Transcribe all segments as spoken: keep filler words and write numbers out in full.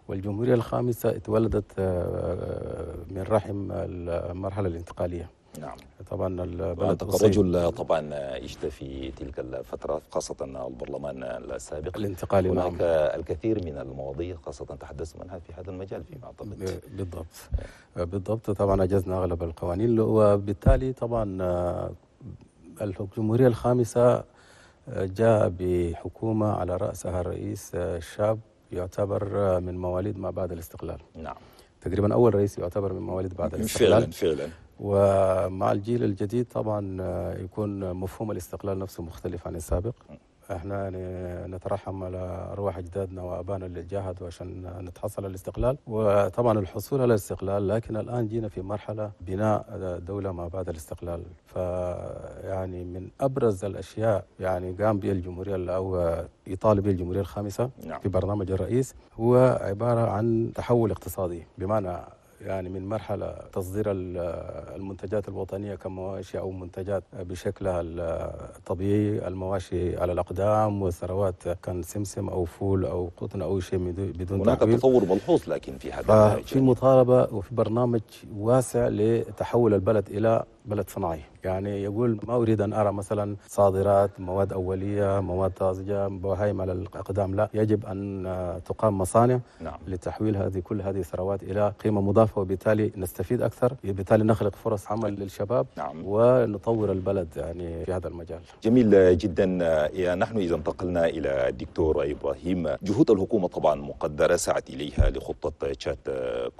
والجمهورية الخامسة اتولدت من رحم المرحلة الانتقالية. نعم. طبعا البلد الرجل طبعا عشت في تلك الفترة، خاصة البرلمان السابق الانتقالي. هناك نعم. الكثير من المواضيع خاصة تحدثت عنها في هذا المجال فيما أعتقد. بالضبط بالضبط. طبعا أجزنا أغلب القوانين، وبالتالي طبعا الجمهورية الخامسة جاء بحكومة على رأسها الرئيس الشاب يعتبر من مواليد ما بعد الاستقلال. نعم. تقريبا أول رئيس يعتبر من مواليد بعد الاستقلال. فعلا فعلا. ومع الجيل الجديد طبعا يكون مفهوم الاستقلال نفسه مختلف عن السابق. احنا يعني نترحم على ارواح اجدادنا وابائنا اللي جاهدوا عشان نتحصل على الاستقلال، وطبعا الحصول على الاستقلال، لكن الان جينا في مرحلة بناء دولة ما بعد الاستقلال. فيعني من ابرز الاشياء يعني قام بها الجمهورية او يطالب بها الجمهورية الخامسة نعم. في برنامج الرئيس هو عبارة عن تحول اقتصادي، بمعنى يعني من مرحلة تصدير المنتجات الوطنية كمواشي أو منتجات بشكلها الطبيعي، المواشي على الأقدام والثروات كان سمسم أو فول أو قطن أو شيء بدون هناك تحويل. تطور ملحوظ لكن في هذا في مطالبة وفي برنامج واسع لتحول البلد إلى بلد صناعي. يعني يقول ما أريد أن أرى مثلا صادرات مواد أولية، مواد طازجة، بهايم على الأقدام، لا، يجب أن تقام مصانع نعم. لتحويل هذه كل هذه الثروات إلى قيمة مضافة، وبالتالي نستفيد أكثر، وبالتالي نخلق فرص عمل للشباب نعم. ونطور البلد يعني في هذا المجال. جميل جدا. نحن إذا انتقلنا إلى الدكتور إبراهيم، جهود الحكومة طبعا مقدرة سعت إليها لخطة تشاد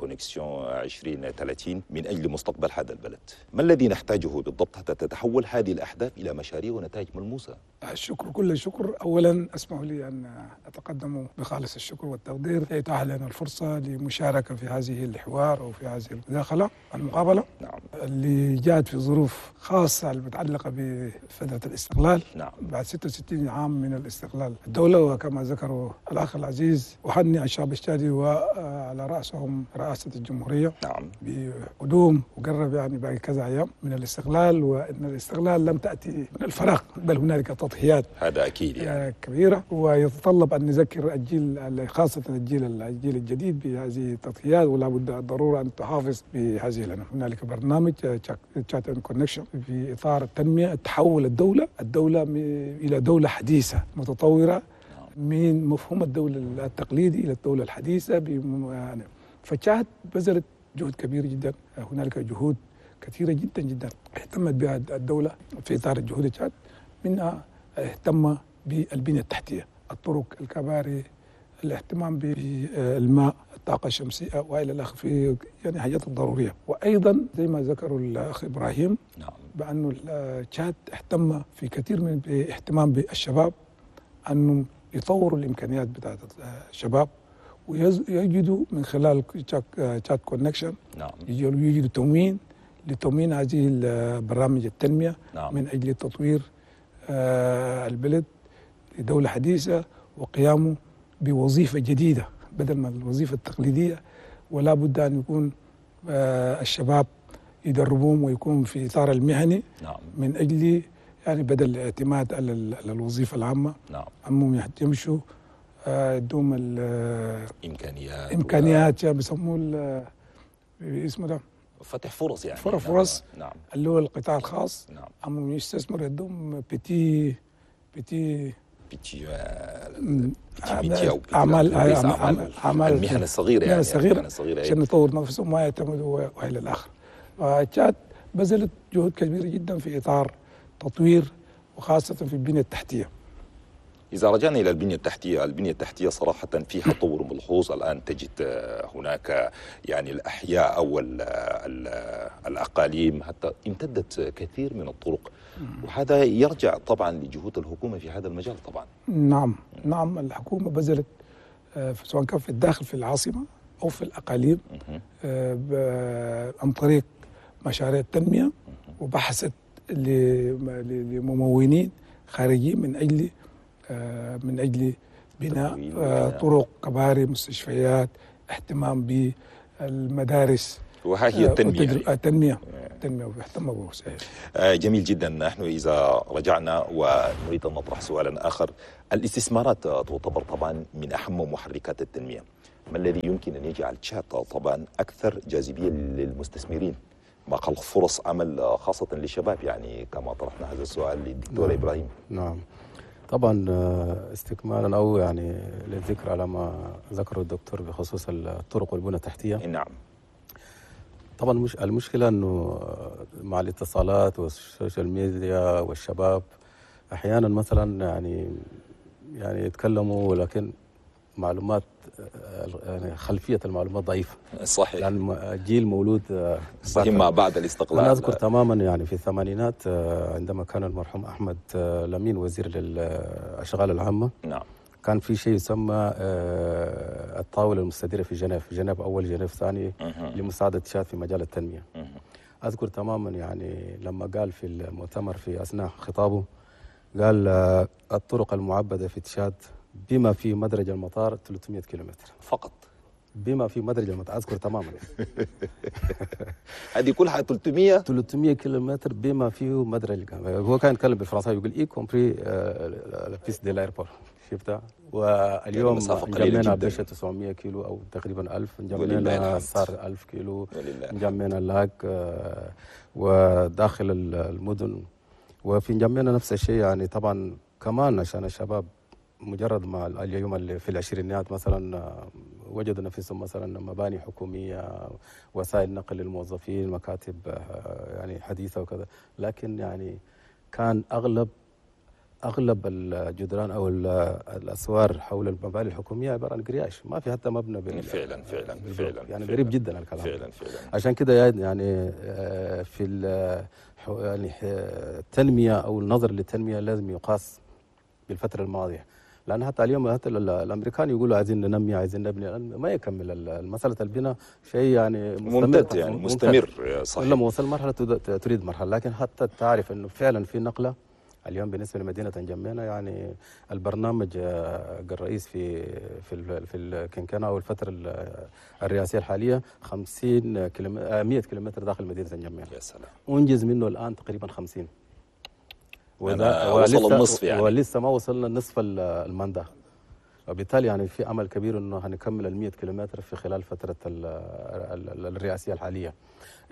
Connexion عشرين ثلاثين من أجل مستقبل هذا البلد. ما الذي نحتاجه بالضبط حتى تتحول هذه الأحداث إلى مشاريع ونتائج ملموسة؟ الشكر كل الشكر. أولا اسمحوا لي أن أتقدم بخالص الشكر والتقدير لإتاحة لنا الفرصة لمشاركة في هذه الحوار أو في هذه المداخلة المقابلة نعم. اللي جاءت في ظروف خاصة المتعلقة بفترة الاستقلال نعم. بعد ستة وستين عام من الاستقلال الدولة. وكما ذكروا الأخ العزيز، أهنئ الشعب التشادي وعلى رأسهم رئاسة الجمهورية نعم. بقدوم وقرب يعني باقي كذا أيام من الاستقلال، وأن الاستقلال لم تأتي من الفراغ، بل هنالك تضحيات هذا أكيد يعني. كبيرة، ويتطلب أن نذكر الجيل خاصة الجيل الجيل الجديد بهذه التضحيات، ولا بد الضرورة أن تحافظ بهذه. لنا هنالك برنامج تشاد Connexion في إطار التنمية، تحول الدولة الدولة إلى دولة حديثة متطورة من مفهوم الدولة التقليدي إلى الدولة الحديثة. يعني فتشاد بذلت جهد كبير جدا، هنالك جهود كثيرة جدا جدا اهتمت بها الدولة في إطار الجهود تشاد، منها اهتم بالبنية التحتية، الطرق، الكباري، الاهتمام بالماء، الطاقة الشمسية وإلى الآخر، في يعني حاجات الضرورية. وأيضا زي ما ذكروا الأخ إبراهيم نعم. بأنه تشاد اهتم في كثير من الاهتمام بالشباب، أنه يطوروا الإمكانيات بتاعت الشباب ويجدوا من خلال تشاد Connexion نعم. يجدوا تموين لتموين هذه برامج التنمية نعم. من أجل تطوير البلد لدولة حديثة وقيامه بوظيفة جديدة بدل من الوظيفة التقليدية. ولا بد أن يكون الشباب يدربوهم ويكون في إطار المهني نعم. من أجل يعني بدل الاعتماد على الوظيفة العامة نعم. أمهم يمشوا يدوم إمكانيات إمكانيات و... بيسموه اسمه ده فتح فرص يعني فرص فرص نعم. اللي هو القطاع الخاص نعم. أمهم يستثمر يدوم petit petit petit petit أو أعمال أعمال المهن الصغيرة يعني الصغيرة عشان يطور نفسهم وما يعتمدوا وإلى الآخر. تشاد بذلت جهود كبيرة جدا في إطار تطوير وخاصة في البنية التحتية. إذا رجعنا إلى البنية التحتية، البنية التحتية صراحة فيها تطور ملحوظ. الآن تجد هناك يعني الأحياء أو ال ال الأقاليم حتى امتدت كثير من الطرق، وهذا يرجع طبعا لجهود الحكومة في هذا المجال طبعا. نعم نعم، الحكومة بذلت سواء كان في الداخل في العاصمة أو في الأقاليم عن طريق مشاريع التنمية، وبحثت لممونين خارجيين من أجل من أجل بناء طرق، كباري، مستشفيات، اهتمام بالمدارس. وها هي التنمية. التنمية التنمية واهتم به صحيح. جميل جدا. نحن إذا رجعنا ونريد أن نطرح سؤالا آخر، الاستثمارات تعتبر طبعا من أهم محركات التنمية. ما الذي يمكن أن يجعل تشاد طبعا أكثر جاذبية للمستثمرين ما خلق فرص عمل خاصة للشباب، يعني كما طرحنا هذا السؤال للدكتور نعم. إبراهيم. نعم طبعا استكمالا أو يعني للذكر على ما ذكره الدكتور بخصوص الطرق والبنى التحتية. نعم طبعا مش المشكلة أنه مع الاتصالات وال social media والشباب أحيانا مثلا يعني يعني يتكلموا ولكن معلومات يعني خلفية المعلومات ضعيفة. صحيح، لأن جيل مولود صحيح ما بعد الاستقلال. أنا أذكر تماما يعني في الثمانينات عندما كان المرحوم أحمد لمين وزير للأشغال العامة، نعم، كان في شيء يسمى الطاولة المستديرة في جنيف، جنيف أول جنيف ثاني، لمساعدة تشاد في مجال التنمية. أذكر تماما يعني لما قال في المؤتمر في أثناء خطابه قال الطرق المعبدة في تشاد بما في مدرج المطار ثلاثمئة كيلومتر فقط، بما في مدرج المطار، أذكر تماما. هذه كلها ثلاثمئة ثلاثمئة كيلومتر بما فيه مدرج. هو كان يتكلم بالفرنساوي يقول y compris la piste de l'aéroport، شفتها؟ واليوم انجمينا بشة تسعمئة كيلو أو تقريبا ألف، انجمينا صار ألف كيلو، انجمينا لاك وداخل المدن، وفي انجمينا نفس الشيء. يعني طبعا كمان عشان الشباب مجرد ما اليوم اللي في العشرينيات مثلا وجدوا نفسهم مثلا مباني حكومية، وسائل نقل للموظفين، مكاتب يعني حديثه وكذا، لكن يعني كان اغلب اغلب الجدران او الاسوار حول المباني الحكومية عبارة عن قرياش، ما في حتى مبنى بال فعلا فعلا فعلا يعني قريب جدا الكلام فعلا فعلا. عشان كده يعني في يعني التنمية او النظر للتنمية لازم يقاس بالفترة الماضية، لان حتى اليوم حتى الامريكان يقولوا عايزين ننمي عايزين نبني، ما يكمل مسالة البناء شيء يعني ممتد يعني مستمر. صحيح، لما وصل مرحلة تريد مرحلة، لكن حتى تعرف انه فعلا في نقله اليوم بالنسبة لمدينة انجمينا. يعني البرنامج الرئيس في في في الكنكنه او الفترة الرئاسية الحالية خمسين كيلومتر مئة كيلومتر داخل مدينة انجمينا. يا سلام، انجز منه الان تقريبا خمسين، وذا وصل النصف يعني، ولسه ما وصلنا نصف ال mandat، وبالتالي يعني في امل كبير انه هنكمل ال مئة كيلومتر في خلال فترة الرئاسية الحالية.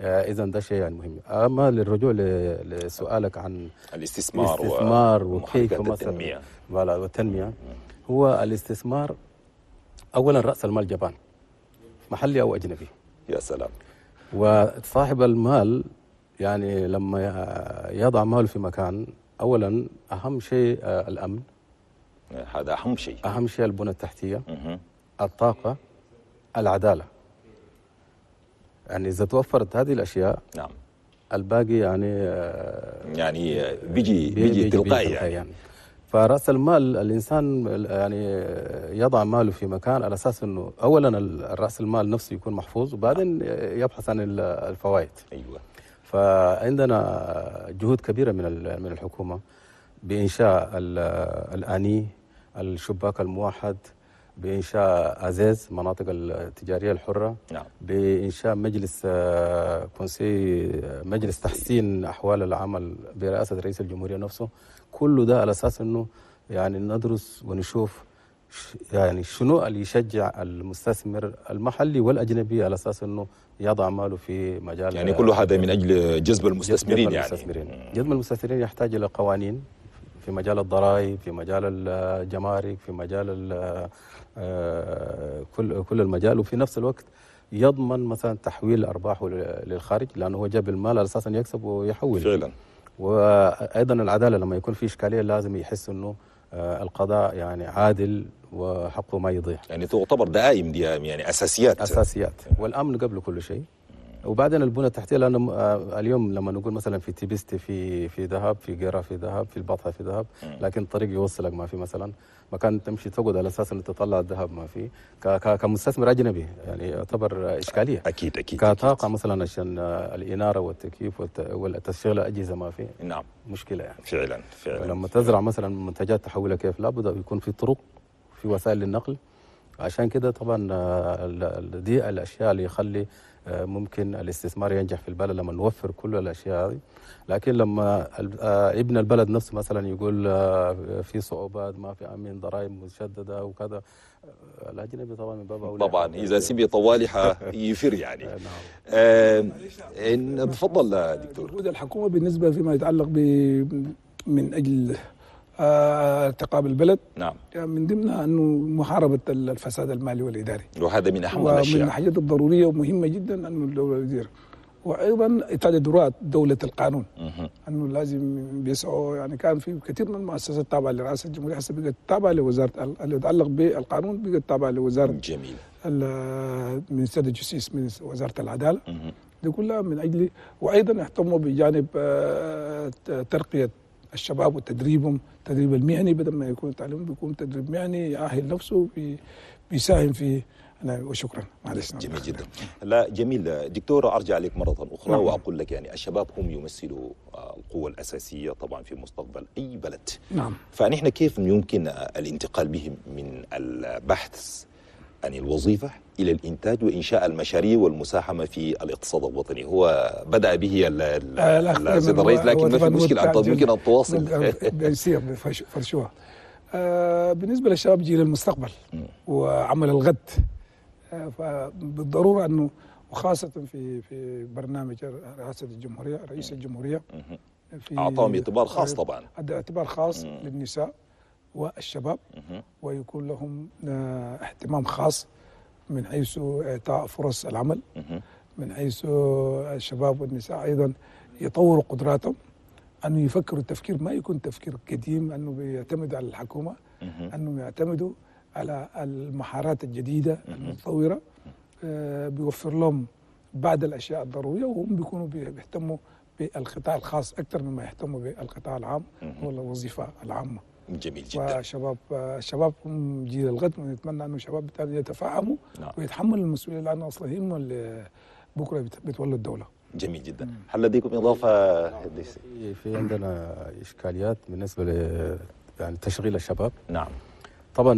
اذا ده شيء يعني مهم. اما للرجوع لسؤالك عن الاستثمار الاستثمار وكيف مثلا والتنمية، هو الاستثمار اولا راس المال جبان، محلي او اجنبي. يا سلام. وصاحب المال يعني لما يضع ماله في مكان، اولا اهم شيء الامن، هذا اهم شيء، اهم شيء البنى التحتية، الطاقة، العدالة. يعني اذا توفرت هذه الاشياء، نعم، الباقي يعني يعني بيجي بيجي, بيجي تلقائي يعني. يعني فراس المال الانسان يعني يضع ماله في مكان على اساس انه اولا راس المال نفسه يكون محفوظ، وبعدين يبحث عن الفوائد. ايوه. فعندنا جهود كبيرة من من الحكومة بانشاء الاني، الشباك الموحد، بإنشاء أزاز مناطق التجارية الحرة، نعم، بإنشاء مجلس conseil، مجلس تحسين أحوال العمل برئاسة رئيس الجمهورية نفسه. كل ده على أساس أنه يعني ندرس ونشوف يعني شنو اللي يشجع المستثمر المحلي والأجنبي على أساس أنه يضع ماله في مجال، يعني كل هذا من أجل جذب المستثمرين. جذب المستثمرين يعني جذب المستثمرين يحتاج إلى قوانين في مجال الضرائب، في مجال الجمارك، في مجال كل كل المجال، وفي نفس الوقت يضمن مثلا تحويل ارباحه للخارج، لانه هو جاب المال على اساس ان يكسب ويحول. فعلا. وايضا العدالة، لما يكون في اشكالية لازم يحس انه القضاء يعني عادل وحقه ما يضيع. يعني تعتبر دعائم دي يعني اساسيات، اساسيات، والامن قبل كل شيء. وبعدين البنى التحتية، لانه اليوم لما نقول مثلا في تيبستي في في ذهب، في قيره في ذهب، في البطحه في ذهب، لكن طريق يوصلك ما في، مثلا مكان تمشي تقعد على اساس انه تطلع الذهب ما في، كمستثمر اجنبي يعني يعتبر اشكالية. اكيد اكيد. كطاقه مثلا عشان الاناره والتكييف والتشغيل الاجهزة ما في. نعم، مشكلة يعني. فعلا فعلا. لما تزرع مثلا منتجات تحولها كيف، لابد يكون في طرق، في وسائل للنقل، عشان كده طبعا دي الاشياء اللي يخلي ممكن الاستثمار ينجح في البلد لما نوفر كل الاشياء هذه. لكن لما ابن البلد نفسه مثلا يقول في صعوبات، ما في امين، ضرائب مشددة وكذا، الاجنبي طبعا من باب اولى طبعا اذا سمي طوالي يفر يعني. نعم. آه تفضل دكتور. جهود الحكومة بالنسبة فيما يتعلق ب من اجل ارتقاء البلد، نعم، من ضمنها انه محاربة الفساد المالي والاداري، وهذا من اهم الاشياء، ومن الحاجات الضرورية ومهمة جدا انه الدولة تدير. وايضا اتخاذ دولة القانون، انه لازم بيسعوا، يعني كان في كثير من المؤسسات التابعة لرئاسة الجمهورية هسه بقت تابعه لوزارة اللي يتعلق بالقانون، بقت تابعه لوزارة جميل ministère de justice، من وزارة العدالة، دي كلها من اجل. وايضا اهتموا بجانب ترقيه الشباب وتدريبهم، التدريب المهني، بدل ما يكون تعليم بيكون تدريب مهني يأهل نفسه بيساهم في. أنا وشكرا، معلش. جميل جدا. لا جميل دكتور، أرجع لك مرة أخرى. نعم. وأقول لك يعني الشباب هم يمثلوا القوة الأساسية طبعا في مستقبل أي بلد. نعم. فنحن كيف يمكن الانتقال بهم من البحث عن الوظيفة إلى الإنتاج وإنشاء المشاريع والمساهمة في الاقتصاد الوطني؟ هو بدأ به السيد الرئيس، لكن ما في مشكلة، أنت يمكن أن تواصل. بيصير فرشوها. آه بالنسبة للشباب جيل المستقبل وعمل الغد، آه فبالضرورة أنه وخاصة في في برنامج رئاسة الجمهورية، رئيس الجمهورية في أعطاهم اعتبار خاص طبعا، اعتبار خاص للنساء والشباب، ويكون لهم اهتمام خاص من حيث إعطاء فرص العمل، من حيث الشباب والنساء أيضا يطوروا قدراتهم، أنه يفكروا التفكير ما يكون تفكير قديم أنه بيعتمد على الحكومة، أنه يعتمدوا على المهارات الجديدة المتطورة، بيوفر لهم بعض الأشياء الضرورية، وهم بيكونوا بيهتموا بالقطاع الخاص أكثر مما يهتموا بالقطاع العام والوظيفة العامة. جميل جدا. وشباب الشباب هم جيل الغد، ونتمنى انه الشباب بالتالي يتفاهموا. نعم. ويتحملوا المسؤولية، لانه اصلا هم اللي بكره بيتولوا الدولة. جميل جدا. هل لديكم اضافه؟ في عندنا اشكاليات بالنسبة ل يعني تشغيل الشباب. نعم. طبعا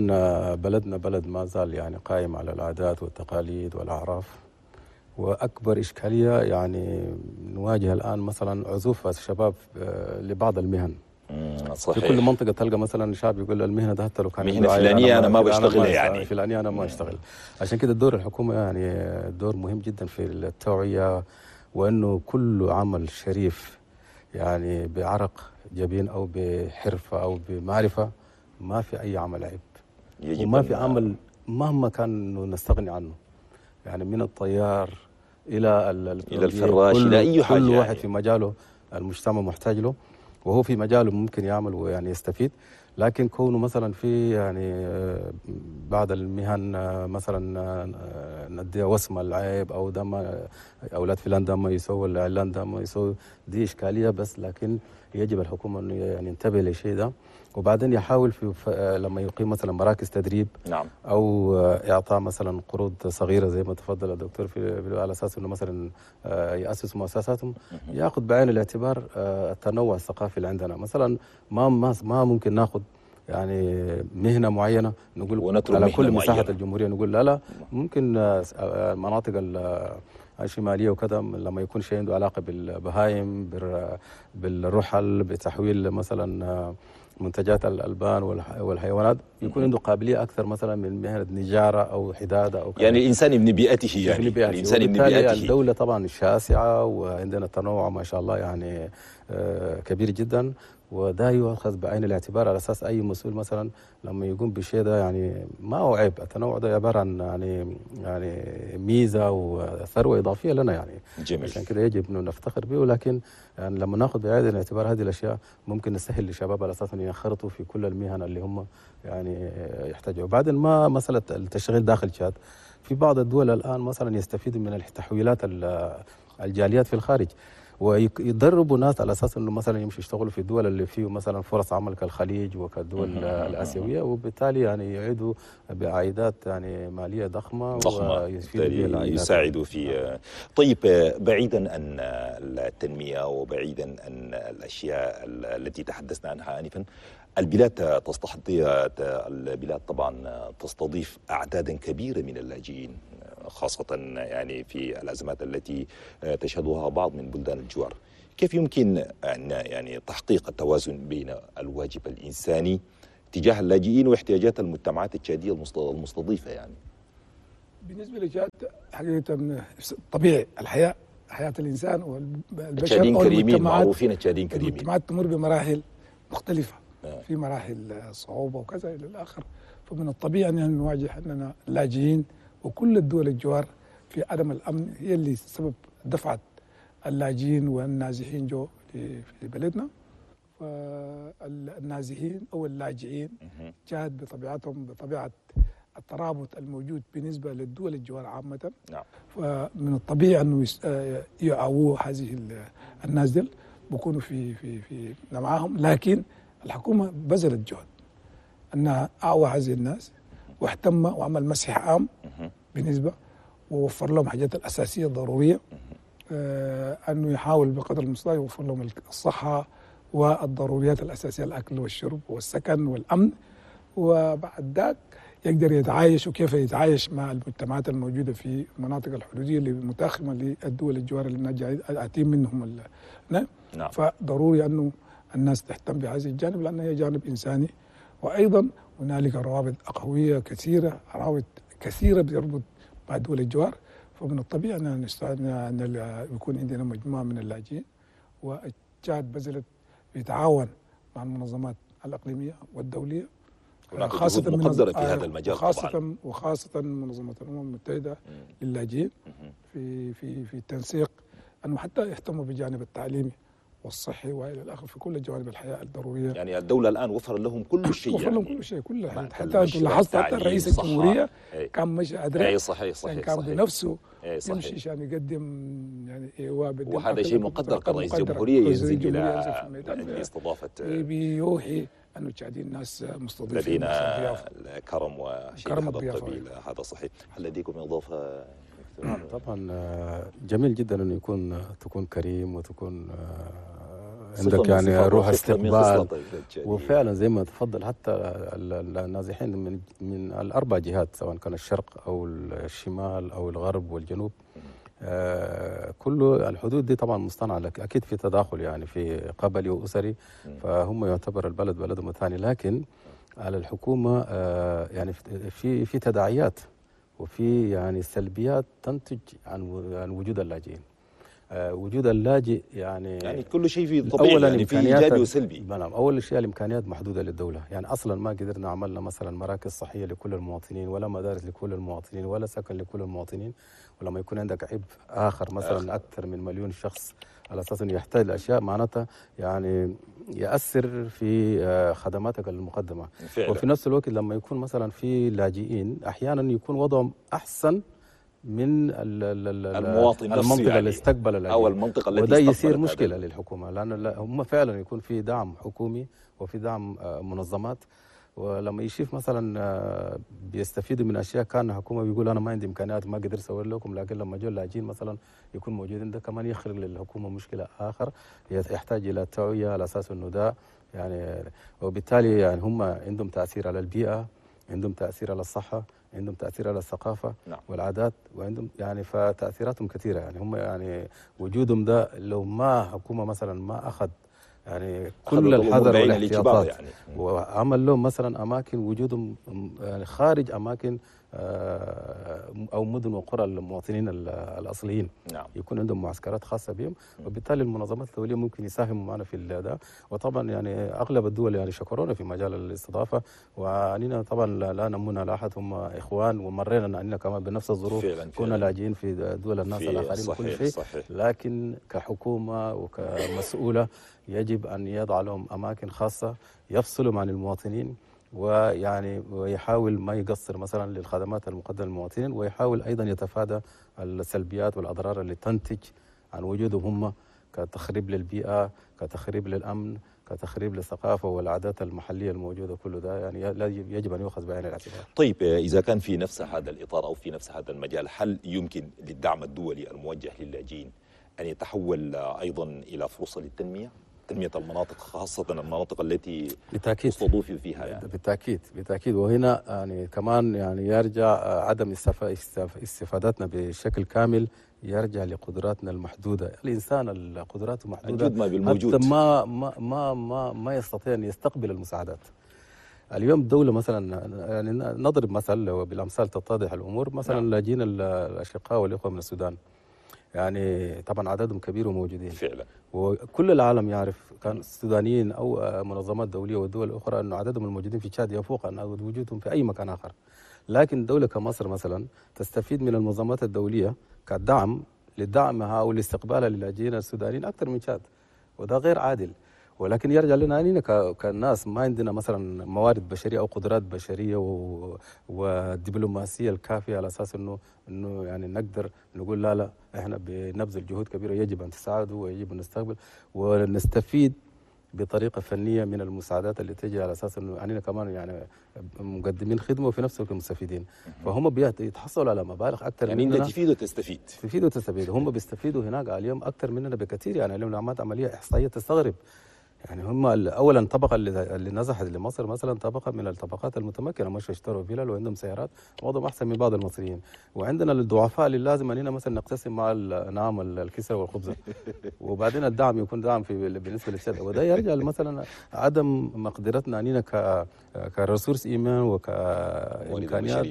بلدنا بلد ما زال يعني قائم على العادات والتقاليد والاعراف، واكبر اشكالية يعني نواجه الان مثلا عزوف الشباب لبعض المهن. صحيح. في كل منطقة تلقى مثلا شاب يقول المهنة ده حتى لو كان مهنة فلانيه انا ما بشتغلها، يعني فلانيه انا ما اشتغل. عشان كده دور الحكومة يعني دور مهم جدا في التوعية، وانه كل عمل شريف يعني بعرق جبين او بحرفه او بمعرفة ما في اي عمل عيب، وما في عمل مهما كان انه نستغني عنه، يعني من الطيار الى الى الفراش الى اي حاجة، كل واحد يعني في مجاله المجتمع محتاج له، وهو في مجاله ممكن يعمل ويعني يستفيد. لكن كونه مثلا في يعني بعض المهن مثلا نديها وسمه العيب، او ده ما اولاد فلان ده ما يسوي، العلان ده ما يسوي، دي اشكالية بس. لكن يجب الحكومة انه يعني ينتبه للشيء ده، وبعدين يحاول في لما يقيم مثلا مراكز تدريب، نعم، او اعطاء مثلا قروض صغيرة زي ما تفضل الدكتور في على اساس انه مثلا ياسسوا مؤسساتهم، ياخذ بعين الاعتبار التنوع الثقافي اللي عندنا. مثلا ما ما ما ممكن ناخذ يعني مهنة معينة نقول على كل مساحة الجمهورية نقول لا لا، ممكن المناطق الشمالية وكذا لما يكون شيء عنده علاقة بالبهايم، بالرحل، بتحويل مثلا منتجات الالبان والحيوانات، يكون عنده قابلية اكثر مثلا من مهنة نجاره او حداده او كذا. يعني الانسان ابن بيئته، يعني بيئته. الانسان ابن بيئته. الدولة طبعا شاسعه وعندنا تنوع ما شاء الله يعني كبير جدا، وده يؤخذ بعين الاعتبار على اساس اي مسؤول مثلا لما يقوم بشيء ده يعني ما هو عيب، التنوع ده عبارة عن يعني يعني ميزة وثروه اضافية لنا يعني. جميل. عشان كده يجب انه نفتخر به، ولكن يعني لما ناخذ بعين الاعتبار هذه الاشياء ممكن نسهل للشباب على اساس ان ينخرطوا في كل المهن اللي هم يعني يحتاجوا. وبعدين ما مسالة التشغيل داخل تشاد، في بعض الدول الان مثلا يستفيدوا من التحويلات الجاليات في الخارج. ويدربوا ناس على اساس انه مثلا يمشوا يشتغلوا في الدول اللي فيه مثلا فرص عمل كالخليج وكالدول الاسيوية، وبالتالي يعني يعيدوا بعائدات يعني ماليه ضخمة ضخمة يساعدوا في. طيب، بعيدا عن التنمية وبعيدا عن الاشياء التي تحدثنا عنها انفا، البلاد تستحضي البلاد طبعا تستضيف اعدادا كبيرة من اللاجئين، خاصة يعني في الأزمات التي تشهدها بعض من بلدان الجوار. كيف يمكن أن يعني تحقيق التوازن بين الواجب الإنساني تجاه اللاجئين واحتياجات المجتمعات التشادية المستضيفة؟ يعني بالنسبة لتشاد حقيقة طبيعي الحياة، حياة الإنسان والبشر التشاديين كريمين، معروفين التشاديين كريمين. المجتمعات تمر بمراحل مختلفة، في مراحل صعوبة وكذا إلى الآخر، فمن الطبيعي أن نواجه أننا اللاجئين وكل الدول الجوار في عدم الأمن هي اللي سبب دفعت اللاجئين والنازحين جو في بلدنا. فالنازحين أو اللاجئين جاد بطبيعتهم، بطبيعة الترابط الموجود بالنسبة للدول الجوار عامة، فمن الطبيعي أنه يعووا هذه الناس دي بيكونوا في في في معاهم. لكن الحكومة بذلت جهد أنها أعوى هذه الناس واهتم وعمل مسح عام بالنسبة، ووفر لهم حاجات الأساسية الضرورية، آه أنه يحاول بقدر المستطاع يوفر لهم الصحة والضروريات الأساسية، الأكل والشرب والسكن والأمن، وبعد ذاك يقدر يتعايش، وكيف يتعايش مع المجتمعات الموجودة في المناطق الحدودية اللي متاخمة للدول الجوار اللي آتين منهم. نعم. فضروري أنه الناس تهتم بهذا الجانب لأنه هي جانب إنساني. وأيضا هنالك روابط أخوية كثيرة، روابط كثيرة بتربط مع دول الجوار، فمن الطبيعي أن أن يكون عندنا مجموعة من اللاجئين. والتشاد بذلت بيتعاون مع المنظمات الإقليمية والدولية، خاصة مقدرة في هذا المجال خاصة طبعا، وخاصة منظمة الأمم المتحدة للاجئين في في في التنسيق، أنه حتى يهتموا بالجانب التعليمي والصحي والى الاخر في كل جوانب الحياة الضرورية. يعني الدولة الان وفر لهم كل شيء، وفر يعني لهم كل شيء، كل حاجة. حتى انت لاحظت حتى رئيس الجمهورية كان مش ادري. اي صحيح صحيح كان صحيح. بنفسه يمشي عشان يقدم يعني ايواء، وهذا شيء مقدر كرئيس جمهورية ينزل الى استضافة، بيوحي انه التشاديين ناس مستضيفين، لدينا الكرم وشيء هذا القبيل. هذا صحيح. هل لديكم اضافه؟ طبعا جميل جدا انه يكون تكون كريم وتكون عندك يعني روح استقبال، وفعلا زي ما تفضل حتى النازحين من من الاربع جهات، سواء كان الشرق او الشمال او الغرب والجنوب، آه كله الحدود دي طبعا مصطنعه، لك اكيد في تداخل يعني في قبلي واسري، فهم يعتبر البلد بلدهم الثاني. لكن على الحكومة آه يعني في في تداعيات وفي يعني سلبيات تنتج عن عن وجود اللاجئين. آه وجود اللاجئ يعني يعني كل شيء في طبيعي، يعني في ايجابي وسلبي. نعم، اول شيء الامكانيات محدودة للدولة، يعني اصلا ما قدرنا عملنا مثلا مراكز صحية لكل المواطنين، ولا مدارس لكل المواطنين، ولا سكن لكل المواطنين. ولما يكون عندك عبء اخر مثلا آخر. اكثر من مليون شخص على اساس انه يحتاج لاشياء، معناتها يعني ياثر في خدماتك المقدمة. فعلا. وفي نفس الوقت لما يكون مثلا في لاجئين احيانا يكون وضعهم احسن من المواطن نفسه، المنطقة يعني اللي استقبل اللاجئين او المنطقة التي وده يصير مشكلة للحكومة، لان هم فعلا يكون في دعم حكومي وفي دعم منظمات، ولما يشوف مثلا بيستفيدوا من اشياء كان الحكومة بيقول انا ما عندي امكانيات ما قدرت اسوي لكم، لكن لما جو اللاجئين مثلا يكون موجودين، ده كمان يخلق للحكومة مشكلة اخر يحتاج الى توعيه على اساس انه ده يعني، وبالتالي يعني هم عندهم تاثير على البيئة، عندهم تاثير على الصحة، عندهم تاثير على الثقافة نعم. والعادات، وعندهم يعني فتاثيراتهم كثيرة. يعني هم يعني وجودهم ده لو ما حكومة مثلا ما اخذ يعني كل الحذر والاحتياطات يعني. وعمل لهم مثلا اماكن وجودهم يعني خارج اماكن او مدن وقرى المواطنين الاصليين نعم. يكون عندهم معسكرات خاصة بهم، وبالتالي المنظمات الدولية ممكن يساهموا معنا في ده. وطبعا يعني اغلب الدول يعني شكرونا في مجال الاستضافة، وعنينا طبعا لا نمونا لاحد، هم اخوان ومرينا عننا كمان بنفس الظروف، فعلاً فعلاً. كنا لاجئين في دول الناس الاخرين وكل شيء صحيح. لكن كحكومة وكمسؤوله يجب ان يضع لهم اماكن خاصة يفصلهم عن المواطنين، ويعني ويحاول ما يقصر مثلا للخدمات المقدمة للمواطنين، ويحاول ايضا يتفادى السلبيات والاضرار اللي تنتج عن وجودهم هم كتخريب للبيئة، كتخريب للأمن، كتخريب للثقافة والعادات المحلية الموجودة، كل ده يعني يجب أن يؤخذ بعين الاعتبار. طيب إذا كان في نفس هذا الإطار أو في نفس هذا المجال، هل يمكن للدعم الدولي الموجه للاجئين أن يتحول أيضا إلى فرصة للتنمية؟ تنمية المناطق، خاصة المناطق التي بالتأكيد استضيفوا فيها يعني. بالتأكيد بالتأكيد. وهنا يعني كمان يعني يرجع عدم استفادتنا بشكل كامل يرجع لقدراتنا المحدودة. الإنسان القدرات محدودة، الجود ما بالموجود، حتى ما ما ما ما, ما يستطيع أن يستقبل المساعدات. اليوم الدولة مثلا، يعني نضرب مثل وبالأمثال تتضح الأمور، مثلا نعم. لاجئين الأشقاء والإخوة من السودان، يعني طبعا عددهم كبير وموجودين فعلا، وكل العالم يعرف كان السودانيين او منظمات دولية ودول اخرى انه عددهم الموجودين في تشاد يفوق عن وجودهم في اي مكان اخر. لكن دولة كمصر مثلا تستفيد من المنظمات الدولية كدعم لدعمها او لاستقبالها للاجئين السودانيين اكثر من تشاد، وده غير عادل. ولكن يرجع لنا أننا كناس ما عندنا مثلا موارد بشرية او قدرات بشرية والدبلوماسية الكافيه على اساس انه انه يعني نقدر نقول لا لا احنا بنبذل جهود كبيرة، يجب ان تساعدوا ويجب ان نستقبل ونستفيد بطريقة فنية من المساعدات اللي تجي، على اساس انه اننا كمان يعني مقدمين خدمة وفي نفس الوقت مستفيدين. فهم بيتحصلوا على مبالغ اكثر يعني مننا. انت تفيد وتستفيد، تفيد وتستفيد. هم بيستفيدوا هناك اليوم اكثر مننا بكثير. يعني اليوم لو عملت عملية احصائية تستغرب، يعني هم اولا طبقه اللي نزحت لمصر مثلا طبقه من الطبقات المتمكنه، مش يشتروا فيلل وعندهم سيارات، وضعهم احسن من بعض المصريين. وعندنا الضعفاء اللي لازم اننا مثلا نقتسم مع نعم الكسرة والخبزه، وبعدين الدعم يكون دعم في بالنسبة للشرق. وده يرجع مثلا عدم مقدرتنا اننا ك ك ressources humaines وكامكانيات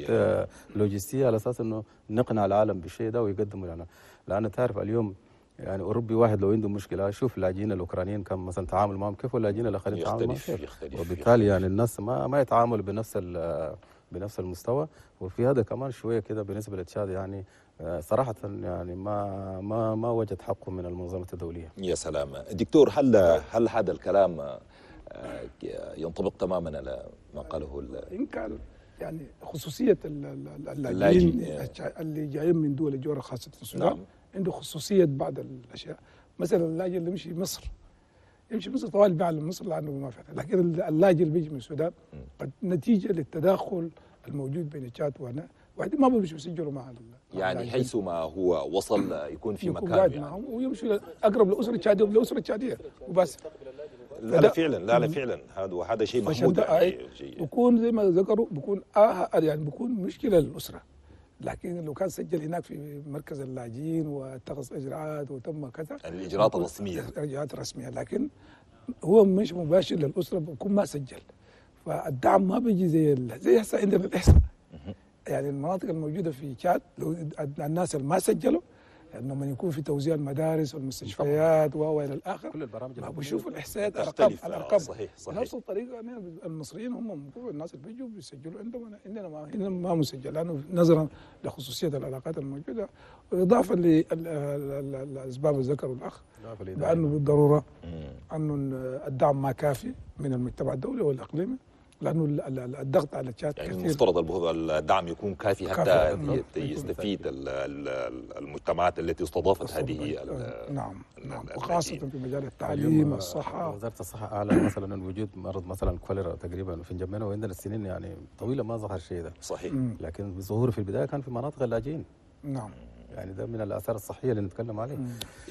لوجستية على اساس انه نقنع العالم بالشيء ده ويقدموا لنا. لان تعرف اليوم يعني أوروبي واحد لو عنده مشكلة، شوف اللاجئين الأوكرانيين كم مثلا تعامل معهم كيف، واللاجئين الآخرين تعامل معهم كيف، يختلف. وبالتالي يعني الناس ما ما يتعاملوا بنفس بنفس المستوى. وفي هذا كمان شوية كده بالنسبة لتشاد يعني صراحة يعني ما ما ما وجد حقه من المنظمة الدولية. يا سلام دكتور، هل هل هذا الكلام ينطبق تماما على ما قاله؟ إن كان يعني خصوصية اللاجئين اللي جايين من دول الجوار خاصة السودان، نعم. عنده خصوصية بعض الأشياء. مثلا اللاجئ اللي يمشي مصر، يمشي مصر طوال بيعلم مصر لأنه ما في، لكن اللاجئ اللي بيجي من السودان قد نتيجة للتداخل الموجود بين تشاد وهنا وبعدين ما بيمشوا يسجلوا مع يعني حيث ما هو وصل يكون في مكان يعني. معهم ويمشوا أقرب لأسرة تشادية ولأسرة تشادية وبس. لا لا فعلا، لا لا فعلا هذا وهذا شيء محمود يعني. بيكون زي ما ذكروا بيكون آه يعني بيكون مشكلة للأسرة. لكن لو كان سجل هناك في مركز اللاجئين واتخذ اجراءات وتم كذا، يعني الاجراءات الرسمية، الاجراءات الرسمية، لكن هو مش مباشر للاسرة بيكون ما سجل، فالدعم ما بيجي زي ال... زي هسه عندنا الاحصاء. يعني المناطق الموجودة في تشاد لو الناس اللي ما سجلوا لما يكون في توزيع المدارس والمستشفيات والى الاخر، كل البرامج ما بيشوفوا الاحصائيات، الارقام الارقام صحيح صحيح. بنفس الطريقة المصريين هم الناس اللي بيجوا بيسجلوا عندهم، عندنا ما عندنا ما مسجل لانه نظرا لخصوصيه العلاقات الموجودة، واضافه للاسباب اللي ذكره الاخ بانه بالضرورة انه الدعم ما كافي من المجتمع الدولي والاقليمي، لانه الضغط على تشاد يعني كثير. المفترض الدعم يكون كافي حتى كافي. يستفيد المجتمعات التي استضافت هذه. نعم نعم، وخاصة في مجال التعليم والصحة. وزارة الصحة اعلن مثلا ان وجود مرض مثلا كوليرا تقريبا في جنبنا، وعندنا السنين يعني طويلة ما ظهر شيء ده. صحيح. لكن بظهوره في البداية كان في مناطق اللاجئين. نعم. يعني ده من الاثار الصحية اللي نتكلم عليه.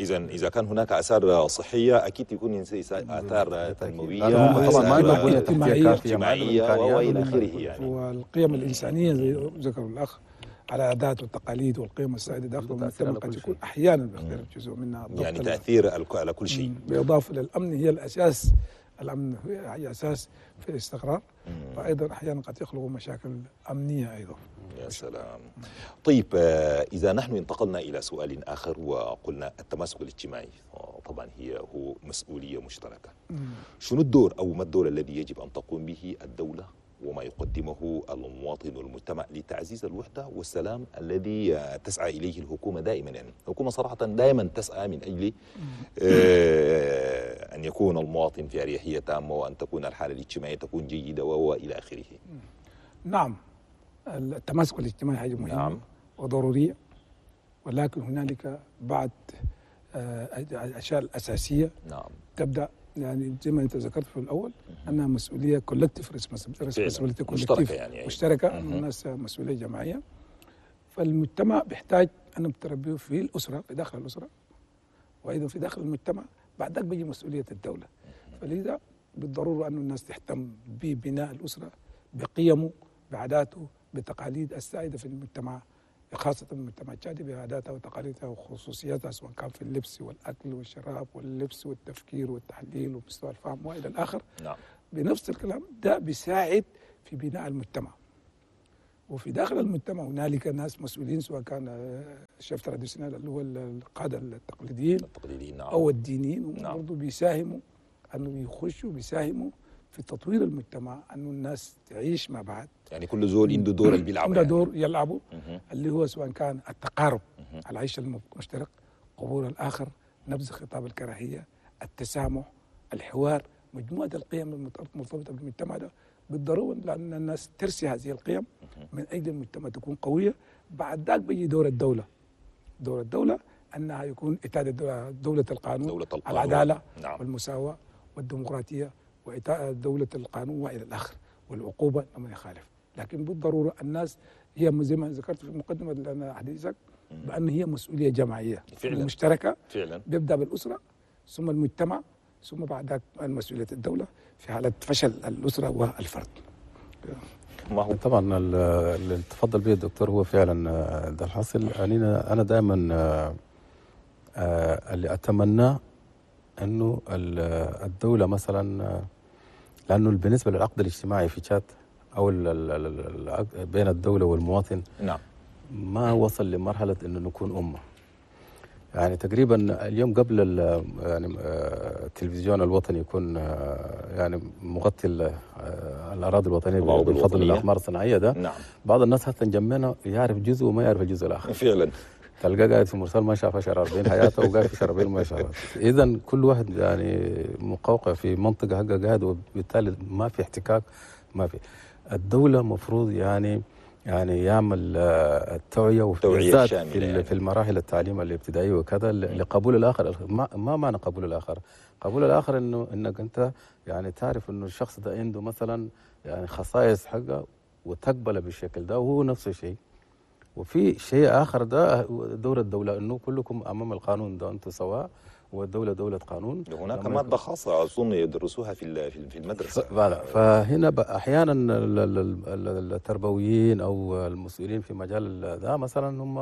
اذا اذا كان هناك اثار صحية اكيد يكون اثار تنموية، هم طبعا ما عندهم بنيه تحتيه كافيه، اجتماعية والى اخره يعني. والقيم الانسانية زي ذكر الاخ على العادات والتقاليد والقيم السائدة داخل المجتمع قد يكون احيانا بيختلف جزء منها، يعني تاثير على كل شيء. بالاضافة للامن، هي الاساس، الامن هي اساس في الاستقرار، فايضا احيانا قد يخلق مشاكل امنية ايضا. يا سلام. طيب إذا نحن انتقلنا إلى سؤال آخر وقلنا التماسك الاجتماعي طبعا هي هو مسؤولية مشتركة. شنو الدور أو ما الدور الذي يجب أن تقوم به الدولة وما يقدمه المواطن والمجتمع لتعزيز الوحدة والسلام الذي تسعى إليه الحكومة دائما؟ يعني الحكومة صراحة دائما تسعى من أجل آه أن يكون المواطن في أريحية تامة وأن تكون الحالة الاجتماعية تكون جيدة وإلى آخره. نعم، التماسك الاجتماعي حاجة مهمة. نعم. وضرورية، ولكن هنالك بعض الاشياء الاساسية. نعم. تبدا يعني زي ما انت ذكرت في الاول انها مسؤولية collective responsibility، مشتركة يعني مشتركة، الناس مسؤولية جماعية. فالمجتمع بيحتاج ان تربيه في الاسرة، في داخل الاسرة، وايضا في داخل المجتمع. بعد ذاك بيجي مسؤولية الدولة. فلذا بالضرورة ان الناس تهتم ببناء الاسرة، بقيمة، بعاداته، بتقاليد السائدة في المجتمع، خاصة المجتمع التشادي بعاداتها وتقاليدها وخصوصياتها، سواء كان في اللبس والأكل والشراب واللبس والتفكير والتحليل ومستوى الفهم وإلى الآخر. نعم. بنفس الكلام ده بيساعد في بناء المجتمع. وفي داخل المجتمع هنالك ناس مسؤولين، سواء كان ال chefs traditionnels اللي هو القادة التقليديين التقليديين نعم. أو الدينيين، نعم. برضه بيساهموا أنه يخشوا بيساهموا في تطوير المجتمع، أنه الناس تعيش مع بعض. يعني كل زول عنده دور اللي بيلعبه، عنده يعني. دور يلعبه، اللي هو سواء كان التقارب، العيش المشترك، قبول الآخر، نبذ خطاب الكراهية، التسامح، الحوار، مجموعة القيم المرتبطة بالمجتمع ده بالضرورة، لأن الناس ترسي هذه القيم من أجل المجتمع تكون قوية. بعد ذاك بيجي دور الدولة. دور الدولة أنها يكون إتادة دولة القانون، دولة القانون، العدالة، نعم. والمساواة والديمقراطية وإيتاء دولة القانون وإلى الآخر، والعقوبة لمن يخالف. لكن بالضرورة الناس هي زي ما ذكرت في مقدمة حديثك بأن هي مسؤولية جماعية فعلا. مشتركة فعلا. بيبدأ بالأسرة ثم المجتمع ثم بعد ذلك مسؤولية الدولة في حالة فشل الأسرة والفرد. ما هو طبعا اللي تفضل به الدكتور هو فعلا ده الحاصل. أنا أنا دائما اللي أتمناه أنه الدولة مثلا، لأنه بالنسبة للعقد الاجتماعي في تشاد أو بين الدولة والمواطن، نعم، ما وصل لمرحلة أنه نكون أمة. يعني تقريبا اليوم قبل يعني التلفزيون الوطني يكون يعني مغطي الأراضي الوطنية بفضل الأقمار الصناعية ده، نعم، بعض الناس حتى جنبنا يعرف جزء وما يعرف الجزء الآخر. فعلا تلقاه قاعد في مرسال ما شاف شهر أربعين حياته، وقاعد في شهر أربعين ما شاف. إذا كل واحد يعني مقوقع في منطقة حقه قاعد، وبالتالي ما في احتكاك، ما في. الدولة مفروض يعني يعني يعمل التوعية، وبالذات في, يعني. في المراحل التعليم الابتدائية وكذا، لقبول الآخر. ما, ما معنى قبول الآخر؟ قبول الآخر إنه إنك أنت يعني تعرف إنه الشخص ده عنده مثلا يعني خصائص حقه وتقبله بالشكل ده، وهو نفس الشيء. وفي شيء آخر ده دور الدولة، أنه كلكم أمام القانون ده أنتم سواء، والدولة دولة قانون. هناك مادة خاصة أظن يدرسوها في في المدرسة. فهنا أحيانا التربويين أو المسؤولين في مجال ده مثلا هم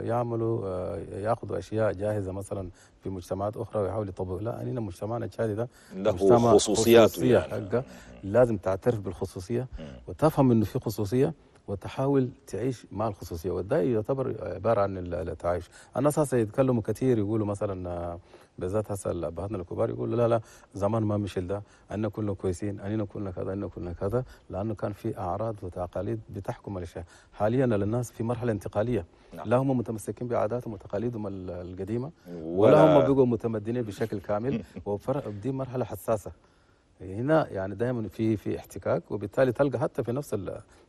يعملوا يأخذوا أشياء جاهزة مثلا في مجتمعات أخرى ويحاولوا يطبقوا. لا، أننا مجتمعنا التشادي ده له خصوصياته، يعني لازم تعترف بالخصوصية وتفهم إنه في خصوصية وتحاول تعيش مع الخصوصية، وده يعتبر عبارة عن التعايش. الناس هسه يتكلموا كثير، يقولوا مثلا بالذات هسه ابهاتنا الكبار يقولوا لا لا زمان ما مشي ده، أننا كنا كويسين، أننا كنا كذا، أننا كنا كذا، لانه كان في اعراض وتقاليد بتحكم الاشياء. حاليا الناس في مرحلة انتقالية، نعم. لا هم متمسكين بعاداتهم وتقاليدهم القديمة، ولا, ولا هم بقوا متمدنين بشكل كامل، ودي مرحلة حساسة. هنا يعني دائما في في احتكاك، وبالتالي تلقى حتى في نفس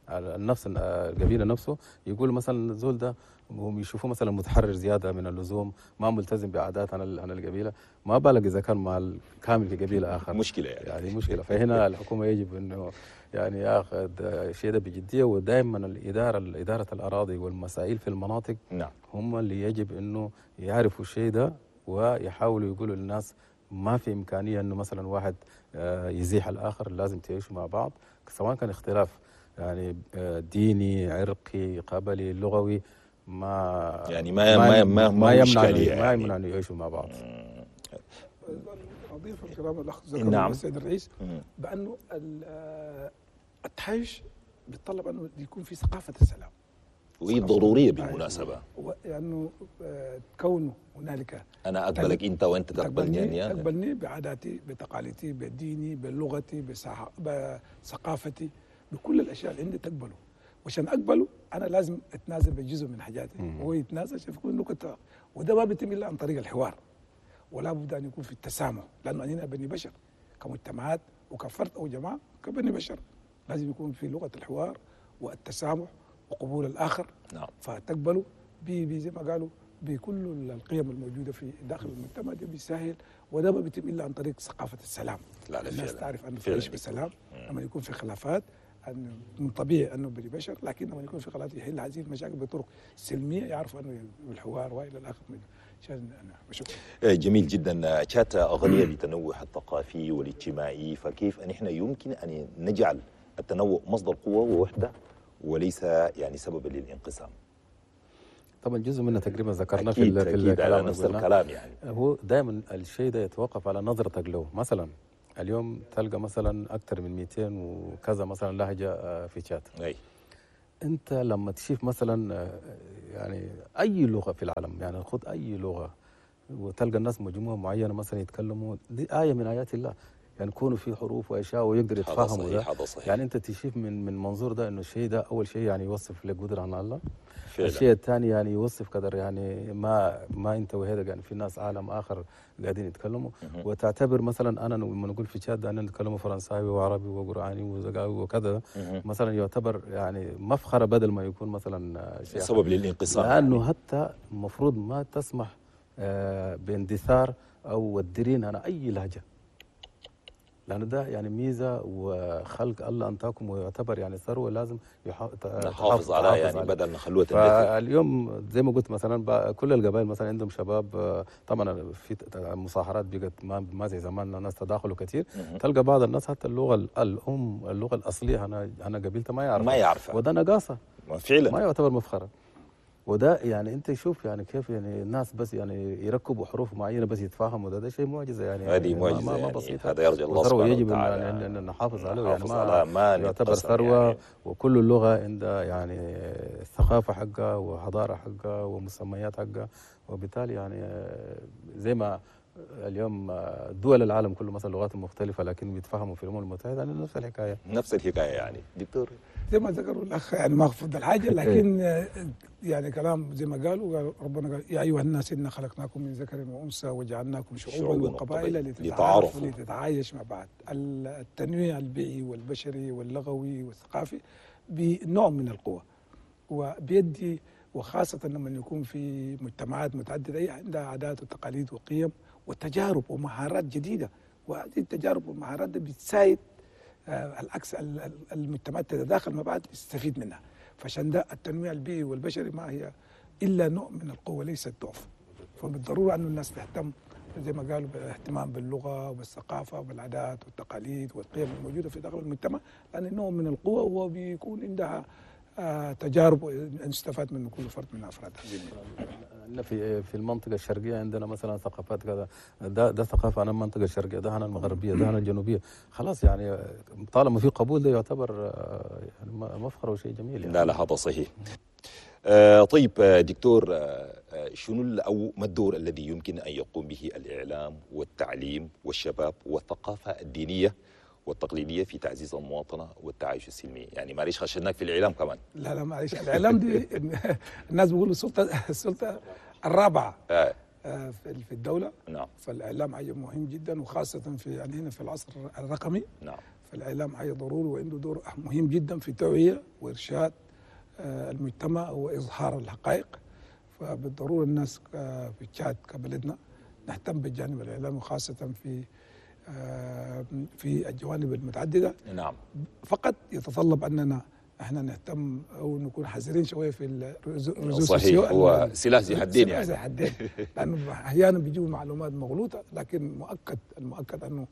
النفس القبيلة نفسه يقول مثلا الزول ده هم يشوفوه مثلا متحرر زيادة من اللزوم، ما ملتزم بعادات عن عن القبيلة، ما بالك اذا كان مع الكامل في قبيلة اخر، مشكلة يعني, يعني مشكلة. فهنا الحكومة يجب انه يعني ياخذ الشيء ده بجدية، ودائما الادارة ادارة الاراضي والمسائل في المناطق، نعم، هم اللي يجب انه يعرفوا الشيء ده ويحاولوا يقولوا للناس ما في إمكانية أنه مثلا واحد يزيح الآخر، لازم تعيشوا مع بعض، سواء كان اختلاف يعني ديني، عرقي، قبلي، لغوي، ما يعني ما ما ما, ما يمنع يعني. ما يمنع أن يعيشوا مع بعض. أضيف الكلام الأخ ذكره نعم. السيد الرئيس بأنه التعايش بيتطلب أنه يكون في ثقافة السلام، وهي ضرورية بالمناسبة، لأنه كونه هنالك أنا أقبلك أنت وأنت تقبلني، يعني تقبلني بعاداتي، بتقاليدي، بديني، بلغتي، بثقافتي، بكل الأشياء اللي عندي تقبله. وعشان أقبله أنا لازم أتنازل بجزء من حاجاتي وهو يتنازل عشان يكون نقطة، وده ما بيتم إلا عن طريق الحوار، ولا بد أن يكون في التسامح، لأنه أننا بني بشر كمجتمعات وكفرد أو جماعة، كبني بشر لازم يكون في لغة الحوار والتسامح وقبول الآخر. نعم. فتقبلوا بي بي زي ما قالوا بكل القيم الموجودة في داخل المجتمع ده بيسهل، وده ما بيتم الا عن طريق ثقافة السلام. لا لا الناس فعلا. تعرف انه فعلا تعيش بسلام. لما يكون في خلافات انه من طبيعي انه بني بشر، لكن لما يكون في خلافات يحل هذه المشاكل بطرق سلمية، يعرفوا انه بالحوار والى الاخر منه. عشان انا بشكر. جميل جدا. تشاد غنية بالتنوع الثقافي والاجتماعي، فكيف ان احنا يمكن ان نجعل التنوع مصدر قوة ووحده وليس يعني سببا للانقسام؟ طبعا جزء منه تقريبا ذكرناه في اكيد ال- في اكيد على الكلام اللي نفس قلناه. الكلام يعني. هو دائما الشيء ده يتوقف على نظرتك له. مثلا اليوم تلقى مثلا اكثر من مئتين وكذا مثلا لهجه آه، في تشاد. اي انت لما تشوف مثلا آه، يعني اي لغة في العالم، يعني خذ اي لغة وتلقى الناس مجموعة معينة مثلا يتكلموا، دي ايه من ايات الله، يعني يكونوا في حروف واشياء ويقدر هذا يتفاهموا صحيح ده. هذا صحيح يعني انت تشوف من من منظور ده انه الشيء ده اول شيء يعني يوصف لك قدره عن الله. فعلا. الشيء الثاني يعني يوصف قدر يعني ما ما انت وهذا، يعني في ناس عالم اخر قاعدين يتكلموا. مهم. وتعتبر مثلا انا لما نقول في تشاد انا نتكلم فرنساوي وعربي وقراني وزقاوي وكذا مهم. مثلا يعتبر يعني مفخرة بدل ما يكون مثلا شيء سبب للانقسام، لانه يعني. حتى المفروض ما تسمح آه، باندثار او الدرين انا اي لهجه، لانه ده يعني ميزة وخلق الله انتاكم ويعتبر يعني ثروة لازم يح... نحافظ عليها يعني عليها. بدل نخلوها تندثر. فاليوم زي ما قلت مثلا بقى كل القبائل مثلا عندهم شباب، آه، طبعا في ت- مصاهرات بقت ما ما زي زمان، الناس تداخلوا كثير. مهم. تلقى بعض الناس حتى اللغة ال- الام اللغة الاصلية انا انا قبيلته ما يعرفها ما يعرفها وده نقاصه، فعلا ما يعتبر مفخرة. وده يعني انت شوف يعني كيف يعني الناس بس يعني يركبوا حروف معينة بس يتفاهموا، ده, ده شيء معجزه يعني. هذه ما- معجزه ما, ما يعني. بسيطة. هذا يرجى الله وثروه سبحانه يجب ان وتعالى ان إن نحافظ عليه يعني نحافظ ما على ما يعتبر نتقسم ثروة يعني. وكل لغة عندها يعني ثقافة حقها وحضارة حقها ومسميات حقها، وبالتالي يعني زي ما اليوم دول العالم كله مثلا لغات مختلفة لكن بيتفاهموا في الامم المتحدة، يعني نفس الحكاية. نفس الحكاية يعني دكتور. زي ما ذكروا الاخ يعني ما اخفض الحاجة، لكن آه، يعني كلام زي ما قالوا، قال ربنا قال يا ايها الناس انا خلقناكم من ذكر وانثى وجعلناكم شعوبا شعوباً وقبائل وقبائل لتتعارفوا لتعارفوا. لتتعايش مع بعض. التنويع البيئي والبشري واللغوي والثقافي بنوع من القوة وبيدي، وخاصة لما يكون في مجتمعات متعددة هي عندها عادات وتقاليد وقيم وتجارب ومهارات جديدة، وهذه التجارب والمهارات دي بتساعد آه، العكس ال- ال- المجتمعات تتداخل مع بعض تستفيد منها. فعشان ده التنويع البيئي والبشري ما هي الا نوع من القوة ليست ضعف. فبالضروره انه الناس تهتم زي ما قالوا بالاهتمام باللغة والثقافة والعادات والتقاليد والقيم الموجودة في داخل المجتمع، لان نوع من القوة وبيكون عندها آه، تجارب نستفاد منه كل فرد من افراد هذه المجتمع. عندنا في في المنطقة الشرقية عندنا مثلا ثقافات كذا، ده ده ثقافة انا المنطقة الشرقية، ده انا المغربية، ده انا الجنوبية، خلاص يعني طالما في قبول ده يعتبر آه، يعني مفخرة وشيء جميل يعني. لا لا هذا صحيح. آه طيب آه، دكتور، آه آه، شنو ال- او ما الدور الذي يمكن ان يقوم به الاعلام والتعليم والشباب والثقافة الدينية والتقليديه في تعزيز المواطنة والتعايش السلمي؟ يعني معلش خشناك في الاعلام كمان. لا لا معلش، الاعلام دي الناس بيقولوا السلطة السلطة الرابعة آه آه، في في الدولة. نعم فالاعلام حاجة مهم جدا، وخاصة في يعني هنا في العصر الرقمي. نعم فالاعلام حاجة ضروري وعنده دور مهم جدا في توعيه وارشاد آه، المجتمع واظهار الحقائق. فبالضروره الناس آه، في تشاد كبلدنا نهتم بالجانب الاعلامي، وخاصة في آه، في الجوانب المتعددة. نعم فقط يتطلب اننا احنا نهتم او نكون حذرين شوية في الرزوز. صحيح، هو سلاح ذي حدين سلاح يعني. ذي حدين، لانه احيانا بيجيبوا معلومات مغلوطة، لكن مؤكد المؤكد انه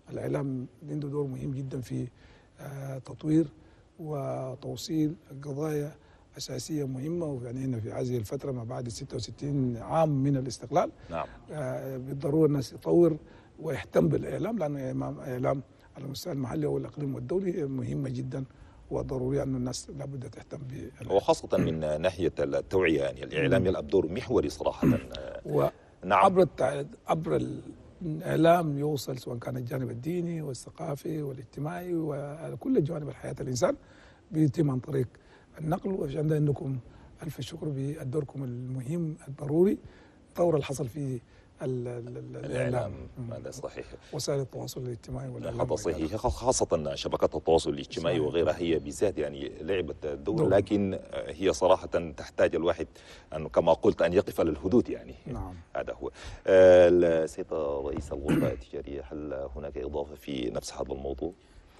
الاعلام عنده دور مهم جدا في آه، تطوير وتوصيل قضايا اساسية مهمة. ويعني هنا في هذه الفترة ما بعد ستة وستين عام من الاستقلال، نعم آه، بالضرورة الناس يطور ويهتم بالاعلام، لانه الاعلام على المستوى المحلي والاقليمي والدولي مهمة جدا، وضروري أن الناس لابد تهتم بالإعلام. وخاصة من ناحية التوعية، يعني الاعلام يلعب دور محوري صراحة. وعبر نعم التع... عبر الإعلام يوصل سواء كان الجانب الديني والثقافي والاجتماعي وكل جوانب الحياة الإنسان بيتم عن طريق النقل. وعشان ده عندكم ألف شكر بدوركم المهم الضروري. الثورة اللي حصل في الإعلام. هذا صحيح، وسائل التواصل الاجتماعي والإعلام. هذا صحيح، خاصة شبكات التواصل الاجتماعي وغيرها هي بالذات يعني لعبت دور، لكن هي صراحة تحتاج الواحد أن كما قلت أن يقف على الحدود يعني. نعم هذا هو. السيد رئيس الغرفة التجارية، هل هناك إضافة في نفس هذا الموضوع؟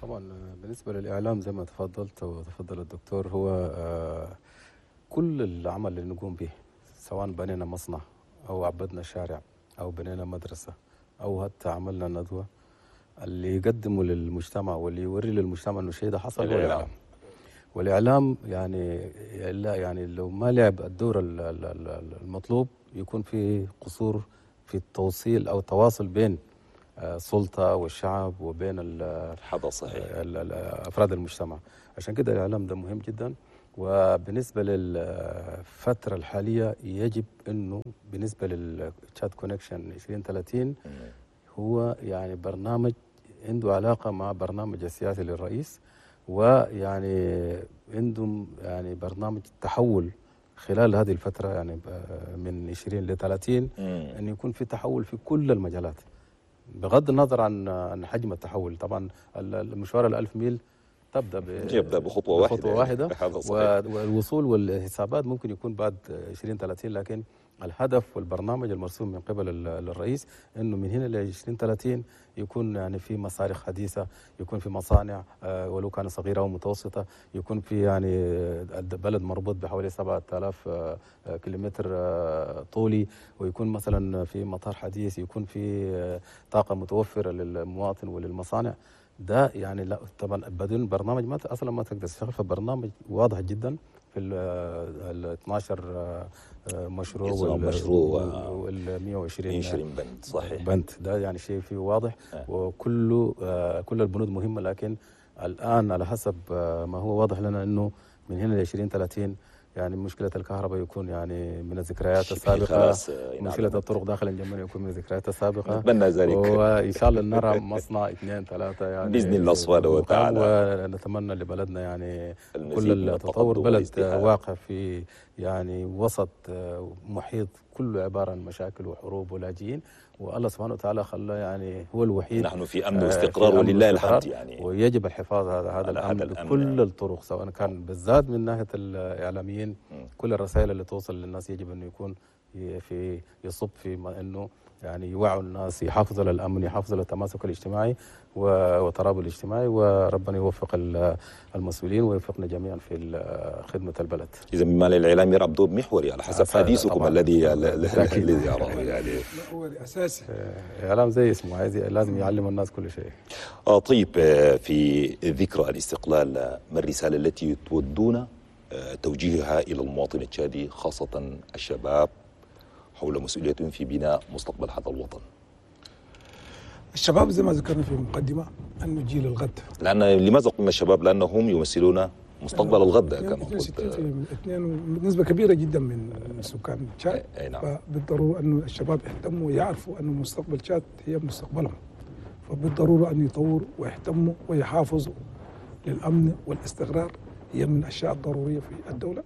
طبعا بالنسبة للإعلام زي ما تفضلت وتفضل الدكتور، هو كل العمل اللي نقوم به سواء بنينا مصنع أو عبدنا شارع أو بنينا مدرسة أو حتى عملنا ندوة، اللي يقدمه للمجتمع واللي يوري للمجتمع إنه الشيء ده حصل هو الإعلام. والإعلام يعني لا يعني لو ما لعب الدور المطلوب يكون في قصور في التوصيل أو التواصل بين السلطة والشعب وبين هذا صحيح أفراد المجتمع. عشان كده الإعلام ده مهم جدا. وبالنسبة للفترة الحالية يجب أنه بالنسبة للتشاد كونكشن عشرين ثلاثين هو يعني برنامج عنده علاقة مع برنامج السياسي للرئيس، ويعني عندهم يعني برنامج التحول خلال هذه الفترة يعني من عشرين ل ثلاثين أن يكون في تحول في كل المجالات بغض النظر عن عن حجم التحول. طبعا المشوار الألف ميل تبدا يبدا بخطوة واحدة، بخطوة واحدة والوصول والحسابات ممكن يكون بعد عشرين ثلاثين، لكن الهدف والبرنامج المرسوم من قبل الرئيس انه من هنا ل عشرين ثلاثين يكون يعني في مصارخ حديثه، يكون في مصانع ولو كانت صغيرة ومتوسطه، يكون في يعني البلد مربوط بحوالي سبعة آلاف كيلومتر طولي، ويكون مثلا في مطار حديث، يكون في طاقة متوفرة للمواطن وللمصانع. ده يعني لا طبعا بدون برنامج ما اصلا ما تقدر تشتغل. فبرنامج واضح جدا في ال اثناشر مشروع وال وال مئة وعشرين بند. صحيح بند ده يعني شيء فيه واضح، وكله كل البنود مهمة. لكن الان على حسب ما هو واضح لنا انه من هنا ل عشرين ثلاثين يعني مشكلة الكهرباء يكون يعني من الذكريات السابقة، مشكلة الطرق داخل الجمهورية يكون من الذكريات السابقة، نتمنى ذلك، وإن شاء الله نرى مصنع اثنين ثلاثة يعني بإذن الله سبحانه وتعالى. ونتمنى لبلدنا يعني كل التطور. بلد واقع في يعني وسط محيط كله عبارة عن مشاكل وحروب ولاجئين، والله سبحانه وتعالى خلاه يعني هو الوحيد نحن في امن واستقرار ولله الحمد يعني، ويجب الحفاظ على هذا الامن بكل الطرق، سواء كان بالذات من ناحية الاعلاميين. كل الرسائل اللي توصل للناس يجب انه يكون في يصب في انه يعني يوعوا الناس، يحافظوا على الامن، يحافظوا على التماسك الاجتماعي والترابط الاجتماعي، وربنا يوفق المسؤولين ويوفقنا جميعا في خدمة البلد. اذا مما للاعلام يلعب دور محوري على حسب حديثكم الذي الذي اراه يعني محوري اساسي. الاعلام زي اسمه، عايز لازم يعلم الناس كل شيء. آه طيب، في ذكرى الاستقلال، ما الرسالة التي تودون توجيهها الى المواطن التشادي خاصة الشباب حول مسؤوليتهم في بناء مستقبل هذا الوطن؟ الشباب زي ما ذكرنا في المقدمة أنه جيل الغد. لأن لماذا قلنا الشباب؟ لأنهم يمثلون مستقبل الغد كما قلت. اثنين نسبة كبيرة جدا من سكان تشاد. نعم. فبالضرورة أنه الشباب يهتموا ويعرفوا أنه مستقبل تشاد هي مستقبلهم، فبالضرورة أن يطوروا ويهتموا ويحافظوا للأمن والاستقرار، هي من الأشياء الضرورية في الدولة.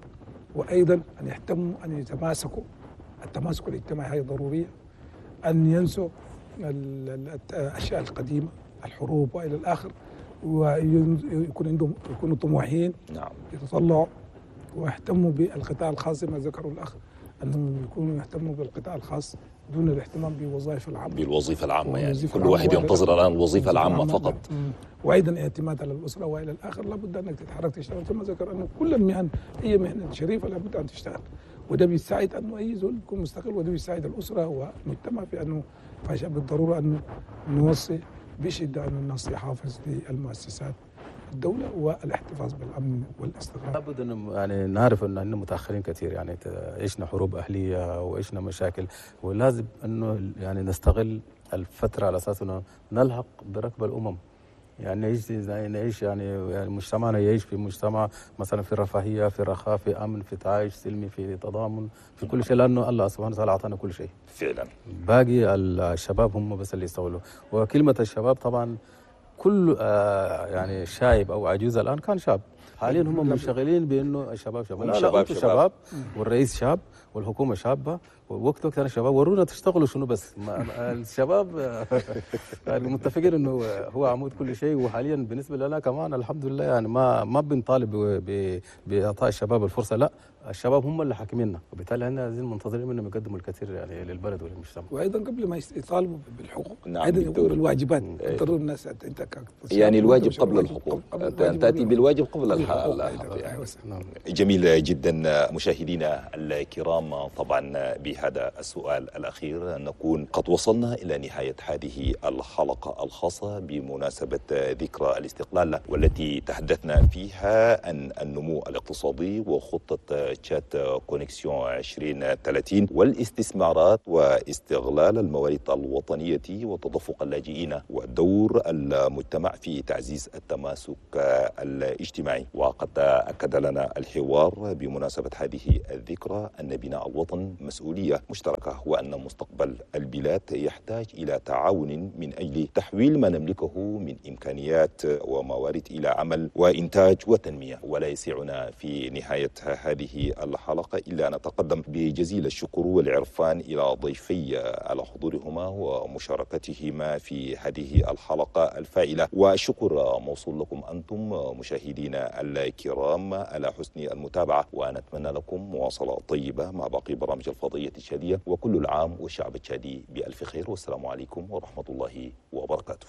وأيضا أن يهتموا أن يتماسكوا، التماسك الاجتماعي هي ضرورية، أن ينسوا الأشياء القديمة، الحروب وإلى الآخر، ويكون عندهم يكونوا طموحين. نعم. يتطلعوا ويهتموا بالقطاع الخاص زي ما ذكروا الأخ، أنهم يكونوا يهتموا بالقطاع الخاص دون الاهتمام بوظائف العامة. بالوظيفة العامة يعني كل واحد ينتظر الآن الوظيفة العامة فقط. وأيضا اعتماد على الأسرة وإلى الآخر، لابد أنك تتحرك تشتغل. ثم ذكر أنه كل المهن هي مهنة شريفة لابد أن تشتغل، وده بيساعد أنه أي زول يكون مستقل، وده بيساعد الأسرة والمجتمع في أنه بالضرورة أنه نوصي بشدة أن الناس يحافظ للمؤسسات الدولة والاحتفاظ بالأمن والاستقرار. لابد أن يعني نعرف أن احنا متأخرين كثير، يعني عشنا حروب أهلية وعشنا مشاكل، ولازم أنه يعني نستغل الفترة على أساس أنه نلحق بركب الأمم. يعني نعيش نعيش يعني, يعني مجتمعنا يعيش في مجتمع مثلا في رفاهية، في رخاء، في امن، في تعايش سلمي، في تضامن، في كل شيء، لانه الله سبحانه وتعالى اعطانا كل شيء. فعلا. باقي الشباب هم بس اللي يستغلوا، وكلمه الشباب طبعا كل آه يعني شايب او عجوز الان كان شاب، حاليا هم منشغلين بانه الشباب شباب، لا لا، انتم شباب والرئيس شاب والحكومة شابه وقت وقت انا الشباب ورونا تشتغلوا شنو بس ما ما- الشباب يعني متفقين انه هو عمود كل شيء. وحاليا بالنسبة لنا كمان الحمد لله يعني ما ما بنطالب ب- ب- باعطاء الشباب الفرصة، لا الشباب هم اللي حاكميننا، وبالتالي احنا عايزين منتظرين منهم يقدموا الكثير يعني للبلد وللمجتمع. وايضا قبل ما يس- يطالبوا بالحقوق نعم، ايضا بالدور. يقوموا بالواجبات. إيه. ضروري الناس انت ك- يعني الواجب قبل الواجب الحقوق، قبل أن الواجب تأتي قبل بالواجب قبل الح- الحقوق. الحق يعني. أيوة. نعم. جميل جدا مشاهدينا الكرام، طبعا بهذا السؤال الأخير نكون قد وصلنا إلى نهاية هذه الحلقة الخاصة بمناسبة ذكرى الاستقلال، والتي تحدثنا فيها عن النمو الاقتصادي وخطة تشاد Connexion ألفين وثلاثين والاستثمارات واستغلال الموارد الوطنية وتدفق اللاجئين ودور المجتمع في تعزيز التماسك الاجتماعي. وقد أكد لنا الحوار بمناسبة هذه الذكرى أن بناء الوطن مسؤولية مشتركة، وأن مستقبل البلاد يحتاج إلى تعاون من أجل تحويل ما نملكه من إمكانيات وموارد إلى عمل وإنتاج وتنمية. ولا يسعنا في نهاية هذه الحلقة إلا أن نتقدم بجزيل الشكر والعرفان إلى ضيفي على حضورهما ومشاركتهما في هذه الحلقة الفائلة، والشكر موصول لكم أنتم مشاهدينا الكرام على حسن المتابعة، ونتمنى لكم مواصلة طيبة مع باقي برامج الفضائية التشادية، وكل العام والشعب التشادي بألف خير، والسلام عليكم ورحمة الله وبركاته.